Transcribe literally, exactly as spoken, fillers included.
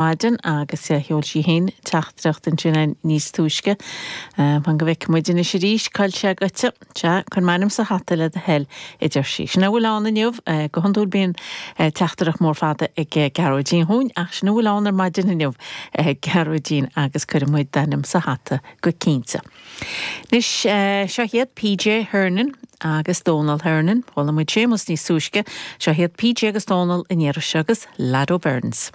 maidin agus sheol sí féin teachtaireacht ansin níos túisce. Fan go bhfeice muid anois arís cá bhfuil sé goite sea cuir m'ainm sa hata le do thoil a deir sí. Sin a bhfuil ann inniu go hiondúil bíonn teachtaireacht mór fada ag Gearóidín chugainn ach sin a bhfuil ann ar maidin inniu Gearóidín agus cuirfidh muid d'ainm sa hata go cinnte. Anois seo iad PJ Hernan agus Donal Hernan, Chuala muid Séamus níos túisce, seo iad PJ agus Donal in iarra agus Lado Burns.